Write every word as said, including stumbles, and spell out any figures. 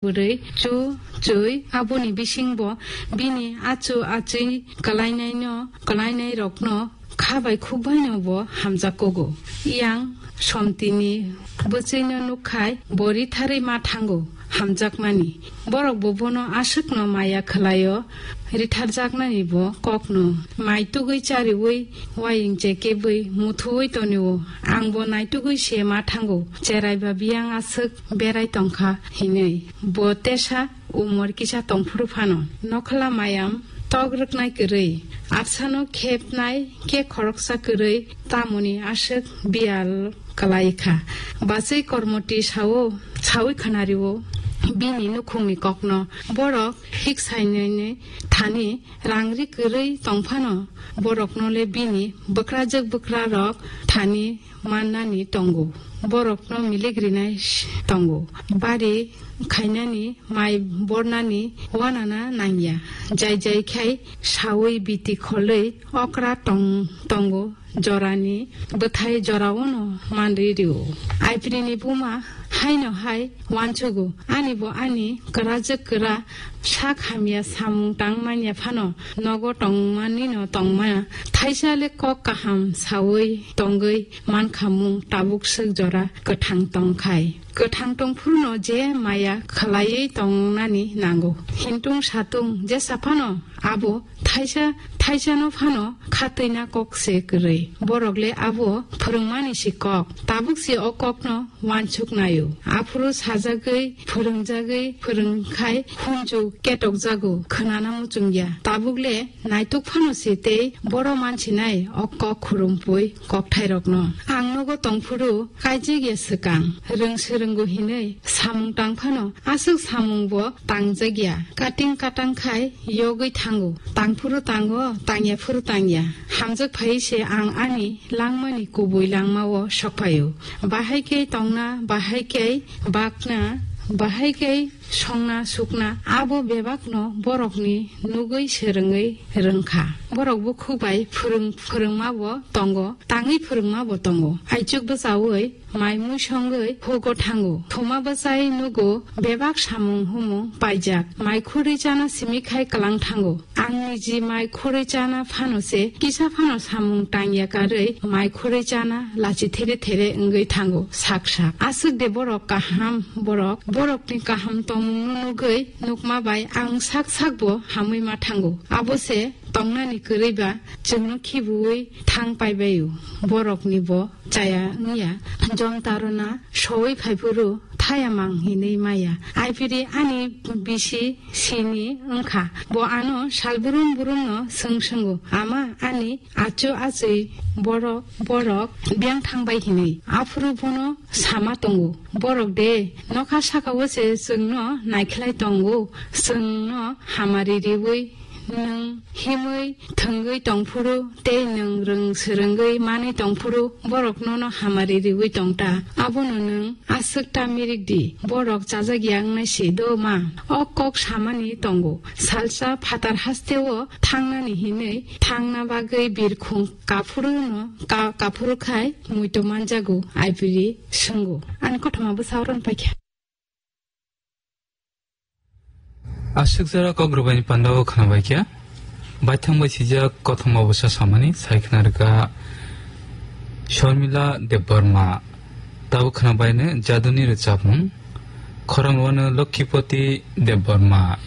bwrwi chu chwi aboni bisingbo bini achu achwi kwlainaino, kwlainairokno kha bai khuk baino bo hamjak kugo. Yang somtini bwchwino nukkhai bo ritharwi ma thango hamjakmani. Borok bo bono aswkno maya khwlaio, ritharjaknani bo kokno mai tugwi chariui waying chekebwi muthuui tonio. Ang bo naitugwi se ma thango, cherai ba biyang aswk berai tongkha hinwi. Bo tesa umor kisa tongphuru phano. Nokhla mayam tok rwknai kwrwi, absano khepnai khe khoroksa kwrwi, tamoni aswk biyal kwlai kha. Bachwi kormoti sao, saui khwnario bini nukhungni kokno. Borok hik sainani thani rang ri kwrwi tongphano, borokno le bini bwkrajwk bwkrarok thani mannani tongo, borokno milik rinai s-, tongo, bari khainani, mai bornani wanana nangya. Jai jai khai saui biti kholwi okra tong-, tongo, jorani bwthai joraono manri rio. Aiprini buma haino hai wansugo, ani bo ani kwrajwk kwra sak hamya samung tang manya phano nogo tongmanino tongma. Thaisa le kok kaham saui tongwi mankha mung tabuk swk jora kwthang tongkhai. Kwthang tongphuru no je maya khwlaiwi tongnani nango. Hintung satung jesa phano abo thaisa, thaisano phano khatwina kok se kwrwi. Borok le abo phwrwngmani si kok. Tabuk si o kokno wansuk naio. Aphuru sajagwi, phwrwngjagwi, phwrwngkhai hunju ketokjago, khwnana muchungya. Tabuk le naituk phano se tei boro mansinai o kok khurumpui kokthairokno. Ang nogo tongphuru kaijagya swkang, rwng swrwngo hinwi samung tang phano aswk samung bo tangjagya. Kating katang khai yogwi thango. Tangphuru tango, tangya phuru tangya. Hamjak phai se ang ani langmani kubui langmao sokphaio. Bahai khe tongna, bahai khe bakna, bahai khe songna sukna, abo bebakno borokni nugwi swrwngwi rwngkha. Borok bukhuk bai phwrwng-, phwrwngma bo tongo, tangwi phwrwngma bo tongo. Aichuk bwchaui mai mui songwi hugo thango. Thuma bwchai nugo bebak samung humung paijak. Mai khurwi chana simi khai kwlang thango. Ang niji mai khurwi chana phano se, kisa phano samung tangya karwi mai khurwi chana lachi there there wngwi thango sak sak. Aswk de borok kaham borok, borokni kaham tongmungno nugwi nukma bai ang sak sak bo hamwi ma thango. Abo se tongnani kwrwi ba chwngno khibiui thang paibaio. Borokni bo chaya wngya. Jom tarona soi phaiphuru thaya mang hinwi maya. Aipiri ani bisi sini wngkha. Bo ano sal brum brumno swng swngwi, "Ama, ani achu achwi borok, borok biyang thangbai hinwi." Aphuru bono sama tongo, "Borok de nokha sakao se chwngno naikhlai tongo, chwngno hamari riwi nwng himwi thwngwi tongphuru tei nwng rwng swrwngwi manwi tongphuru borok nono hamari riwi tongta. Abono nwng aswk ta mirik di, borok chajak ya wngnai se do ma." O kok samani tongo. Salsa phatar hasteo thangnani hinwi thangna bagwi birkhung kaphuru no ka-, kaphuru khai muito manjago, aipiri swngo. Ani kothoma bwsa oron paikha. Aswk jora kok rwbaini pandao khwnabaikha. Baithang bai sijak kothoma bwsa samani sai khwna rwkha Sharmila Debbarma. Tabuk khwnabaino jaduni rwchapmung. Khorang wano Lokkipoti Debbarma.